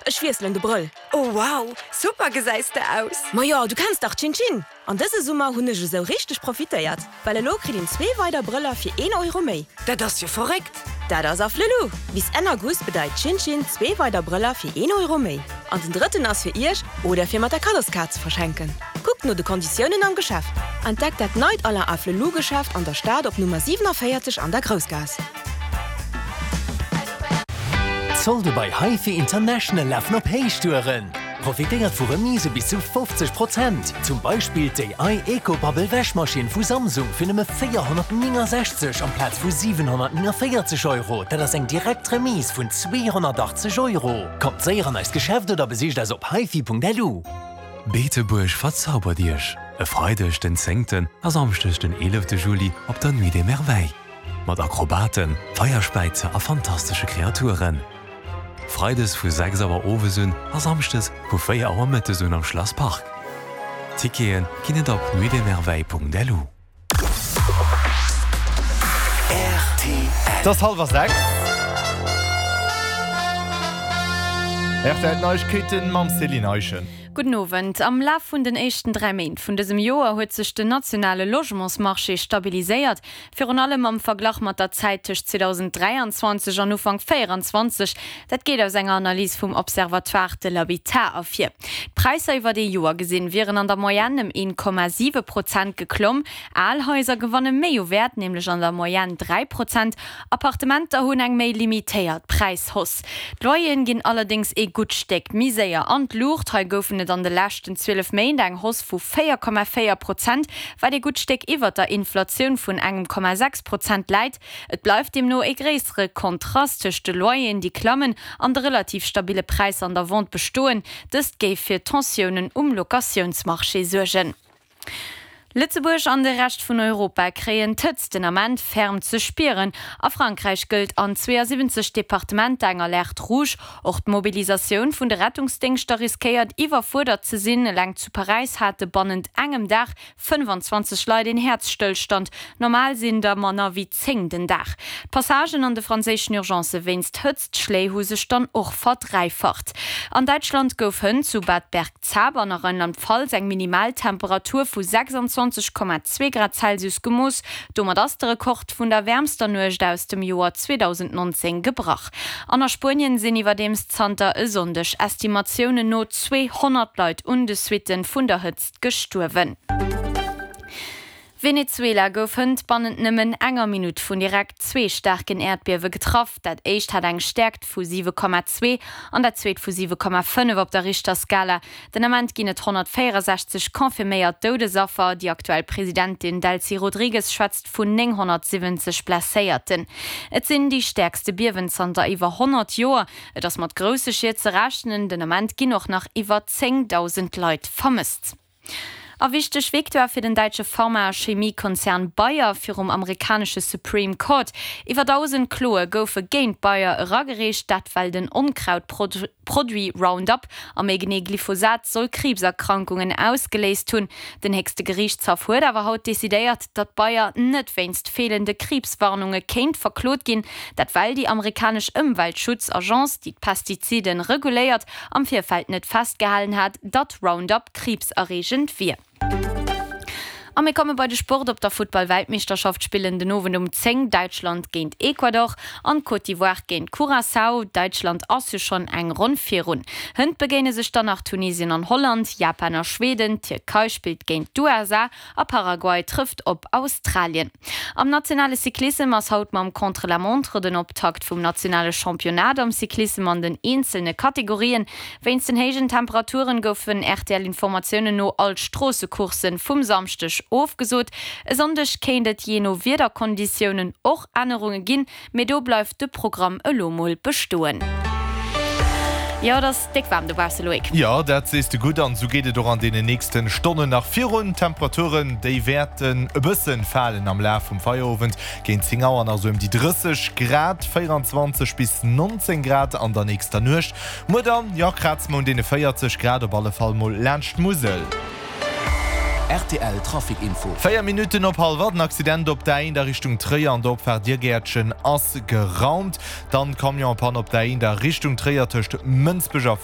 Ech wiesselen de Brëll. Oh wow, super gesäis de aus! Majo, du kenns dach Chin Chin! An dëse Summer hunn ech esou richteg profitéiert, well elo kritt een zwee weider Brëller fir een Euro méi. Dat ass jo verréckt! Dat ass Afflelou! Bis Enn August bedeit Chin Chin zwee weider Brëller fir een Euro méi. An den drëtten ass fir iech oder fir mat der Kaddoskaart ze verschenken. Kuckt no de Konditiounen am Geschäft. Entdeckt dat neit Alain Afflelou Geschäft an der Stad op Nummer 47 an der Groussgaass. D'Solde bei HiFi International lafen op Héichtouren! Profitéiert vu Remise bis zu 50 Prozent! Zum Beispill d'AI EcoBubble Wäschmaschinn vu Samsung fir nëmme 469 amplaz vu 749 Euro, dat ass eng direkt Remise vun 280 Euro! Kommt séier an eist Geschäft oder besicht eis op hifi.lu. Beetebuerg verzaubert Iech! E Freideg den zéngten a Samschdeg den eelefte Juli op der Nuit des Merveilles. Mat Akrobaten, Feierspäizer a fantastesche Kreaturen. Freides vu 6 Auer owes un a Samschdes vu 4 Auer mëttes un am Schlass Park. Tickete ginn et op nuitdesmerveilles.lu. Et ass hallwer 6. Rtl Neiegkeeten mam Céline Eischen. Gudden Owend. Am Laf vun den éischten 3 Méint vun dësem Joer huet sech den nationale Logementsmarché stabiliséiert. Virun allem am Verglach mat der Zäit tëscht 2023 an Ufank 24. Dat geet aus enger Analys vum Observatoire de l'habitat ervir. D'Präisser iwwert ee Joer gesinn wieren an der Moyenne ëm 1,7 Prozent geklomm. Al Haiser gewanne méi u Wäert, nämlech an der Moyenne 3 Prozent. Appartementer hunn eng méi limitéiert Präishausse. D'Loyeren ginn allerdéngs ee gutt Stéck méi séier an d'Luucht. Hei goufen et an de leschten 12 Méint eng Hausse vu 4,4 Prozent, wat ee gutt Stéck iwwert der Inflatioun vun engem Komma 6 Prozent läit. Et bleift deemno ee gréissere Kontrast tëscht de Loyeren, déi klammen, an de relativ stabille Präisser an der Vente bestoen. Dëst géif fir Tensiounen um Locatiounsmarché suergen. Lëtzebuerg an de Rescht vun Europa kréien d'Hëtzt den Ament ferm ze spieren. A Frankräich gëllt an 72 Departementer eng Alerte rouge. Och d'Mobilisatioun vun de Rettungsdéngschter riskéiert iwwerfuerdert ze sinn. Eleng zu Paräis hate bannent engem Dag 25 Leit een Häerzstëllstand. Normal sinn der manner wéi 10 den Dag. D'Passagen an de franséischen Urgencë wéinst Hëtztschléi hu sech dann och verdräifacht. An Däitschland gouf hënt zu Bad Bergzabern a Rheinland-Pfalz eng Minimaltemperatur vu 26,2 Grad Celsius gemooss. Domat ass de Rekord vun der wäermster Nuecht aus dem Joer 2019 gebrach. An a Spuenien sinn iwwerdeems zanter e Sonndeg Estimatiounen no 200 Leit un de Suitte vun der Hëtzt gestuerwen. Venezuela gouf hënt bannent nëmmen enger Minutt vun direkt zwee staarken Äerdbiewe getraff. Dat éischt hat eng Stäerkt vu 7,2 an dat zweet vu 7,5 op der Richterskala. Den Ament ginn et 164 confirméiert Doudesaffer. Déi aktuell Presidentin Delcy Rodrigues schwätzt vun 970 Blesséierten. Et sinn déi stäerkste Biewen zanter iwwer 100 Joer. Et ass mat grousse Schied ze rechnen. Den Ament ginn och nach iwwer 10.000 Leit vermësst. A wichteg Victoire fir den däitsche Pharma a Chemiekonzern Bayer virum amerikanesche Supreme Court. Iwwer 1.000 Kloe goufe géint Bayer eragereecht, dat well den Onkrautproduit Roundup, a méi genee Glyphosat, soll Kriibserkrankungen ausgeléist hunn. Den héchste Geriichtshaff huet awer haut decidéiert, datt Bayer net wéinst feelende Kriibswarnunge kéint verklot ginn. Dat well déi amerikanesch Ëmweltschutzagence, déi d'Pestizide reguléiert, am Virfeld net festgehalen hat, datt Roundup kriibserreegend wier. A mir komme bei de Sport, Op der Futtball-Weltmeeschterschaft spillen den Owend um 10 Däitschland géint Ecuador an d'Côte d'Ivoire géint Curaçao. Däitschland ass jo schonn eng Ronn virun. Hënt begéine sech dann nach Tunesien an Holland, Japan a Schweden, d'Tierkei spillt géint d'USA a Paraguay trëfft op Australien. Am nationale Cyclissem ass haut mam Contre-la-montre den Optakt vum nationale Championnat am Cyclissem an den eenzelne Kategorien. Wéinst den héijen Temperaturen goufen RTL-Informatiounen no all d'Stroossecourssen vum Samschdeg ofgesot. E Sonndeg kéint et jee no Wiederkonditiounen och Ännerunge ginn. Mee do bleift de Programm elo mol bestoen. Jo, et ass déck waarm dobausse, Loïc. Jo, dat sees de gutt an esou geet et och an deenen nächsten Stonnen nach virun. D'Temperaturen, déi wäerten e bëssen falen am Laf vum Feierowend, géint 10 Auer nach esou ëm déi 30 Grad, 24 bis 19 Grad an der nächster Nuecht. Muer dann, jo, kraze mer un deene 40 Grad, op alle Fall mol laanscht d'Musel. Rtl Trafic Info. 4 Minutten op hallwer, den Accident op der A1 a Richtung Tréier an der Opfaart Diergäertchen ass geraumt. Dann Camion-Panne op der A1 a Richtung Tréier tëscht Mënsbech a.